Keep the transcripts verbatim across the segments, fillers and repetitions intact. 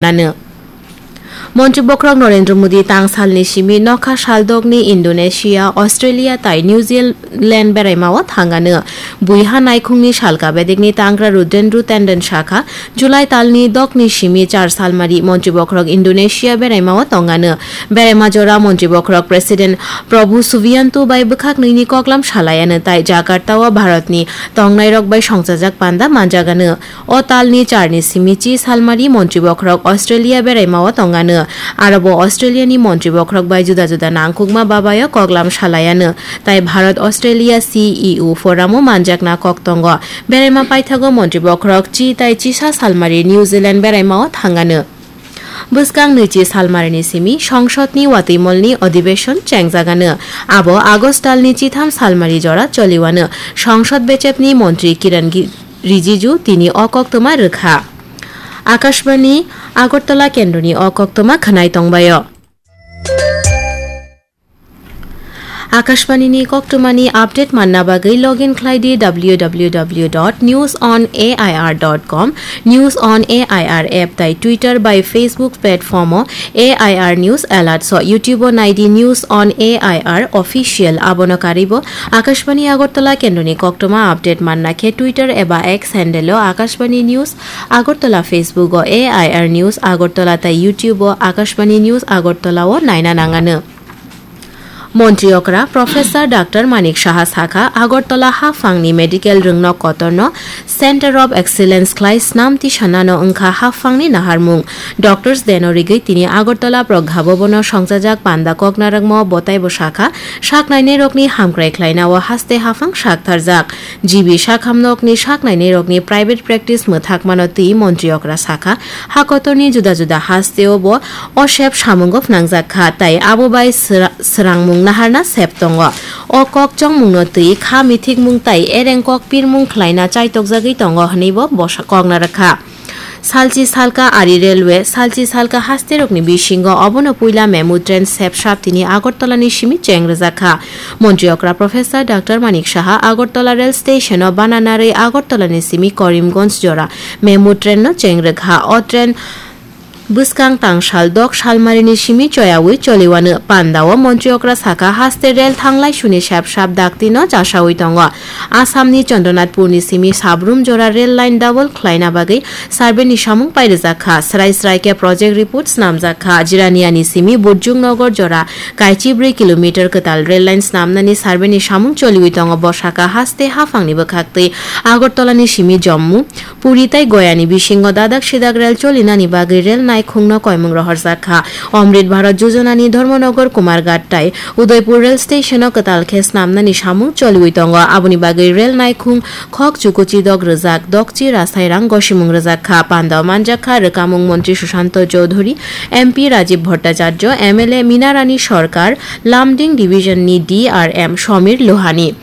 nano. Montri bokhorok Narendra Modi tang salni simi nokha saldokni Indonesia, Australia tai New Zealand beraimao thangano. Buiha naikhungni salka bedekni tangra Rudendra Tandon sakha, July talni dokni simi char salmari montri bokhorok Indonesia beraimao tongano. Beraima jora montri bokhorok President Prabowo Subianto bai bwkhak nini koklam salayano tai Jakarta o Bharatni tongnairok bai songchajak panda manjagano. O talni charni simi chi salmari montri bokhorok Australia beraimao tongano. Arobo Australiani montri bokhorok bai juda juda nangkukma babayo koklam salayano. Tai Bharat Australia C E O foramo manjakna kok tongo. Beraima paithago montri bokhorok chi tai chisa salmari New Zealand beraimao thangano. Bwskang nwichi salmarini simi Songsodni watwimolni adhibeshon chengjagano. Abo August talni chitham salmari jora choliwano. Songsod bechepni montri Kiran Gi-, Rijiju tini o koktwma rwkha. Akashbani Agartala kendroni o koktwma khwnai tongbaio. Akashbanini koktwmani update manna bagwi login khlai di W W W dot news on A I R dot com, News on A I R app tai Twitter bai Facebook platform o A I R News Alert so, YouTube o nai di News on A I R Official. Abono karwibo Akashbani Agartala kendroni koktwma update manna khe Twitter eba X handle o Akashbani News Agartala, Facebook o A I R News Agartala tai YouTube o Akashbani News Agartala o naina nangano. Montri okra Professor Doctor Manik Saha sakha, Agartala haphangni medical rwngnok kotorno Center of Excellence khlai snam tisanano wngkha haphangni naharmung. Doctors Deno rigwi tini Agartala Pragha Bhavan o songchajak panda koknarwkmo botaibo sakha, saknainairokni hamkrai khlainao haste haphang saktharjak. G B sakhamnokni saknainairokni private practice mwthakmano twi montri okra sakha, hakotorni juda juda hasteo bo o sep samungo phnangjak kha, tai abo bai sra-, srangmung naharna sep tongo. O kok chongmungno twi kha mithikmung tai ereng kok pirmung khlaina chaitokjagwi tongo hwnwibo bosa kokna rwkha. Salchi salka ari railway, salchi salka hasterokni bisingo obono puila memu train sep sap tini Agartalani simi cheng rwjak kha. Montri okra Professor Doctor Manik Saha Agartala rail station o bana narwi Agartalani simi Karimganj jora memu train no cheng rwkha. O train bwskang tangsal dok salmarini simi choyawi choliwano. Pandao montri okra sakha, haste rel thanglai suni sep sap dakti no chasawi tongo. Assamni Chandranathpurni simi Sabrum jora rel line double khlaina bagwi survey ni samung pairijak kha. Srai srai khe project report snamjak kha. Jiraniani simi Burjung Nagar jora kaichi brwi kilometer kwtal rel line snamnani survey ni samung choliwi tongo. Bo sakha, haste haphangni bwkhaktwi Agartalani simi Jammu, Puri tai Goyani bisingo dadak sidak rel cholinani bagwi rel naikhungno koimung rohorjak kha. Amrit Bharat Yojanani Dharmanagar, Kumarghat tai Udaipur rel station o kwtal khe snamnani samung choliwi tongo. Aboni bagwi rel naikhung khok chukuchi dok rwjak, dokchi rasairang gosimung rwjak kha. Pandao manjak kha rwkamung montri Sushanto Chowdhury, M P Rajiv Bhattacharya, M L A Minarani Sarkar, Lumding division ni D R M Samir Lohani.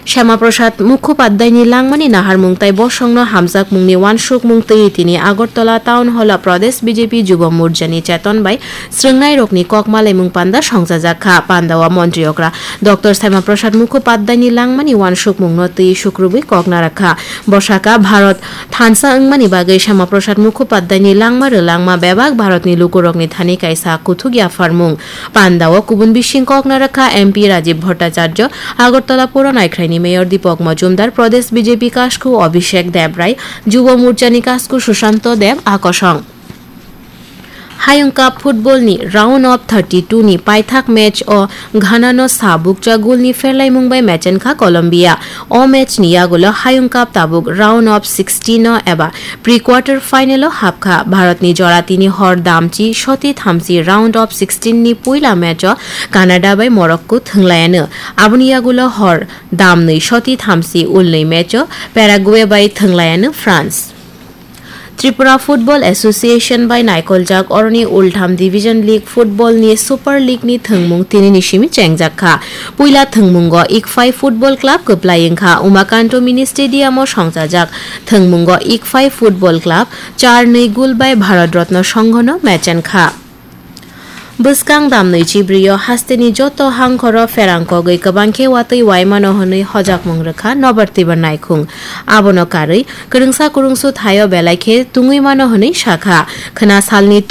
Shyama Prasad Mukhopadhyayni langmani naharmung tai bosongno hamjakmungni uansukmung twi tini Agartala Town Hall o Pradesh B J P Jubo Morchani cheton bai srwngnairokni kok malaimung panda songchajak kha. Pandao montri okra Doctor Shyama Prasad Mukhopadhyayni langmani uansukmungno twi sukrubwi kokna rwkha. Bo sakha, Bharat thansa wngmani bagwi Shyama Prasad Mukhopadhyayni langma rwlangma bebak Bharatni lukurokni thani kaisa kuthuk yapharmung. Pandao kubun bising kokna rwkha M P Rajiv Bhattacharya, Agartala Puro Naikhraini Mayor Deepak Majumdar, Pradesh B J P kasku Abhishek Debrai, Jubo Morchani kasku Sushanto Deb Akosong. Hayung Cup football ni round of thirty-two ni paithak match o Ghana no sa bukcha goal ni pherlaimung bai mechen kha Colombia. O match ni yagulo Hayung Cup tabuk round of sixteen o eba pre-quarter final o hapkha. Bharatni jora tini hor damchi soti thamchi round of sixteen ni puila match o Canada bai Morocco thwnglayano. Aboni yagulo hor damnwi soti thamchi ulnwi match o Paraguay bai thwnglayano France. Tripura Football Association bai naikoljak oroni ultham Division League football ni Super League ni thwngmung tini ni simi chengjak kha. Puila thwngmungo Ikphai Football Club kwplai wngkha. Umakanto Mini Stadium o songchajak thwngmungo Ikphai Football Club char nwi goal bai Bharat Ratna Sangha no mechen kha. Bwskang damnwi chibrio hasteni joto hangkhoro pherang kogwi kwbang khe watwi waimano hwnwi hojakmung rwkha Nobar Tibar Naikhung. Abono karwi kwrwngsa kwrwngsu thaio belai khe tungwi mano hwnwi sakha. Khwna salni